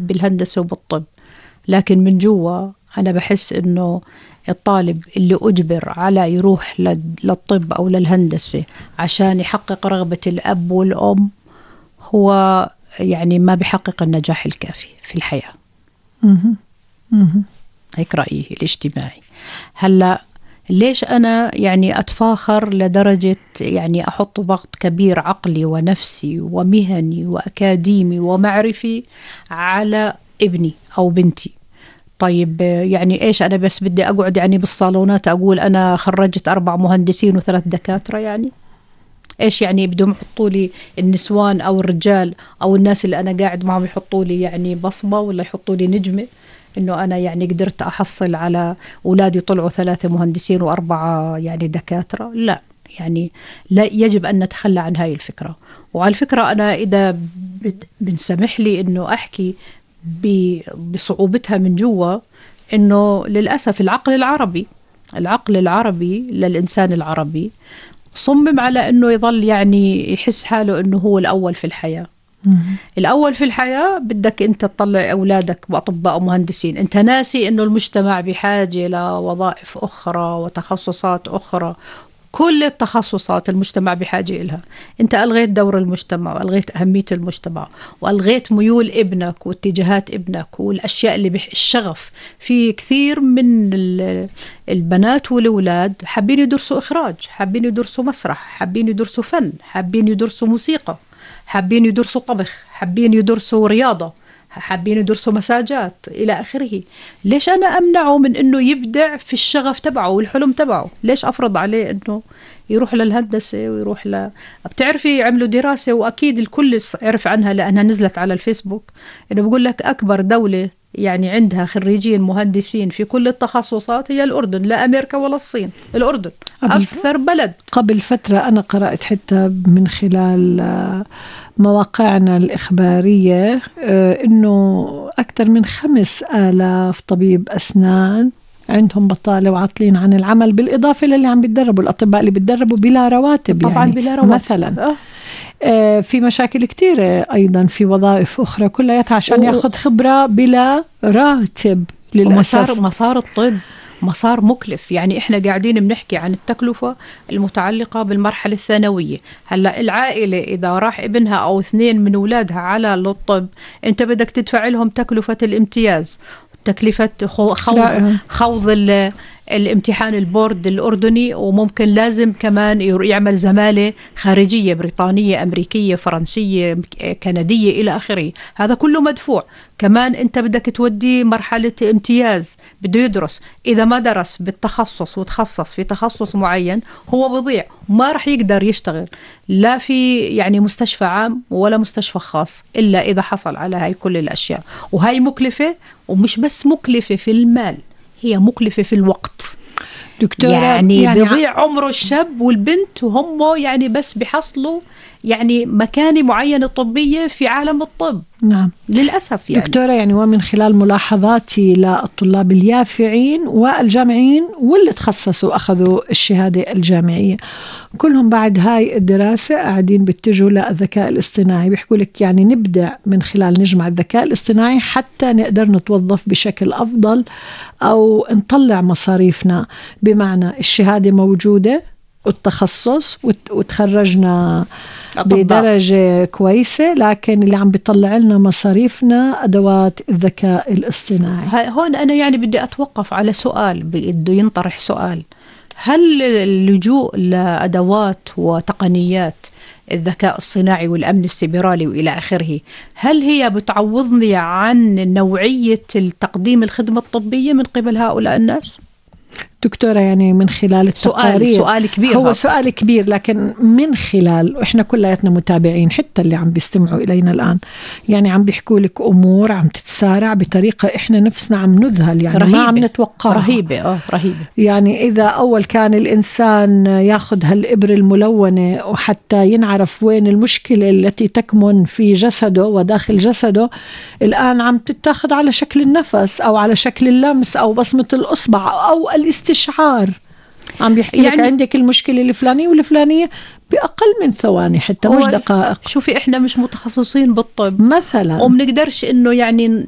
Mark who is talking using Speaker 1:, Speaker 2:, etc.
Speaker 1: بالهندسة وبالطب، لكن من جوا أنا بحس إنه الطالب اللي أجبر على يروح للطب أو للهندسة عشان يحقق رغبة الأب والأم هو يعني ما بيحقق النجاح الكافي في الحياة. هيك رأيي الاجتماعي. هلأ ليش أنا يعني أتفاخر لدرجة يعني أحط ضغط كبير عقلي ونفسي ومهني وأكاديمي ومعرفي على ابني أو بنتي؟ طيب يعني إيش أنا بس بدي أقعد يعني بالصالونات أقول أنا خرجت 4 مهندسين و3 دكاترة؟ يعني إيش يعني بدهم يحطوا لي النسوان أو الرجال أو الناس اللي أنا قاعد معهم يحطوا لي يعني بصمة ولا يحطوا لي نجمة إنه أنا يعني قدرت أحصل على أولادي طلعوا 3 مهندسين و4 يعني دكاترة؟ لا، يعني لا، يجب أن نتخلى عن هاي الفكرة. وعلى الفكرة أنا إذا بنسمح لي إنه أحكي بصعوبتها من جوا، إنه للأسف العقل العربي للإنسان العربي صمم على إنه يظل يعني يحس حاله إنه هو الأول في الحياة. الأول في الحياة بدك أنت تطلع أولادك بأطباء ومهندسين، أنت ناسي إنه المجتمع بحاجة لوظائف أخرى وتخصصات أخرى. كل التخصصات المجتمع بحاجة إلها. أنت ألغيت دور المجتمع وألغيت أهمية المجتمع وألغيت ميول ابنك واتجاهات ابنك والأشياء اللي الشغف. في كثير من البنات والأولاد حابين يدرسوا إخراج، حابين يدرسوا مسرح، حابين يدرسوا فن، حابين يدرسوا موسيقى، حابين يدرسوا طبخ، حابين يدرسوا رياضة، حابين يدرسوا مساجات إلى آخره. ليش أنا أمنعه من أنه يبدع في الشغف تبعه والحلم تبعه؟ ليش أفرض عليه أنه يروح للهندسة ويروح بتعرفي عملوا دراسة وأكيد الكل يعرف عنها لأنها نزلت على الفيسبوك، إنه بقول لك أكبر دولة يعني عندها خريجين مهندسين في كل التخصصات هي الأردن، لا أمريكا ولا الصين، الأردن أكثر بلد.
Speaker 2: قبل فترة أنا قرأت حتى من خلال مواقعنا الإخبارية إنه أكثر من 5000 طبيب أسنان عندهم بطالة وعاطلين عن العمل، بالإضافة للي عم بيتدربوا الأطباء اللي بيتدربوا بلا رواتب.
Speaker 1: طبعا
Speaker 2: يعني
Speaker 1: بلا رواتب
Speaker 2: مثلا في مشاكل كتيرة أيضا في وظائف أخرى كلها عشان ياخد خبرة بلا راتب. للأسف
Speaker 1: مسار الطب مسار مكلف. يعني إحنا قاعدين بنحكي عن التكلفة المتعلقة بالمرحلة الثانوية. هلأ العائلة إذا راح ابنها أو 2 من أولادها على الطب، أنت بدك تدفع لهم تكلفة الامتياز، تكلفة خوض الامتحان البورد الأردني، وممكن لازم كمان يعمل زمالة خارجية بريطانية أمريكية فرنسية كندية إلى آخره. هذا كله مدفوع. كمان أنت بدك تودي مرحلة امتياز، بده يدرس. إذا ما درس بالتخصص وتخصص في تخصص معين هو بضيع، ما رح يقدر يشتغل لا في يعني مستشفى عام ولا مستشفى خاص إلا إذا حصل على هاي كل الأشياء. وهاي مكلفة، ومش بس مكلفة في المال، هي مكلفة في الوقت.
Speaker 2: دكتورة
Speaker 1: يعني بيضيع عمره الشاب والبنت وهم يعني بس بيحصلوا يعني مكانة معينة طبية في عالم الطب.
Speaker 2: نعم
Speaker 1: للأسف. يعني
Speaker 2: دكتورة يعني ومن خلال ملاحظاتي للطلاب اليافعين والجامعين واللي تخصصوا أخذوا الشهادة الجامعية، كلهم بعد هاي الدراسة قاعدين بيتجهوا للذكاء الاصطناعي. بيحكوا لك يعني نبدع من خلال نجمع الذكاء الاصطناعي حتى نقدر نتوظف بشكل أفضل أو نطلع مصاريفنا. بمعنى الشهادة موجودة والتخصص وتخرجنا بدرجة كويسة، لكن اللي عم بيطلع لنا مصاريفنا أدوات الذكاء الاصطناعي.
Speaker 1: هون أنا يعني بدي أتوقف على سؤال، بده ينطرح سؤال: هل اللجوء لأدوات وتقنيات الذكاء الصناعي والأمن السيبراني وإلى آخره، هل هي بتعوضني عن نوعية التقديم الخدمة الطبية من قبل هؤلاء الناس؟
Speaker 2: دكتورة يعني من خلال التقارير،
Speaker 1: سؤال كبير،
Speaker 2: هو سؤال كبير، لكن من خلال إحنا كلياتنا متابعين حتى اللي عم بيستمعوا إلينا الآن، يعني عم بيحكوا لك أمور عم تتسارع بطريقة إحنا نفسنا عم نذهل، يعني رهيبة. ما عم نتوقعها.
Speaker 1: رهيبة.
Speaker 2: يعني إذا أول كان الإنسان ياخذ هالإبر الملونة وحتى ينعرف وين المشكلة التي تكمن في جسده وداخل جسده، الآن عم تتاخذ على شكل النفس أو على شكل اللمس أو بصمة الأصبع أو الاستشعار. عم بيحكي يعني لك عندك المشكلة الفلانية والفلانية بأقل من ثواني حتى مش دقائق.
Speaker 1: شوفي إحنا مش متخصصين بالطب
Speaker 2: مثلا،
Speaker 1: ومنقدرش إنه يعني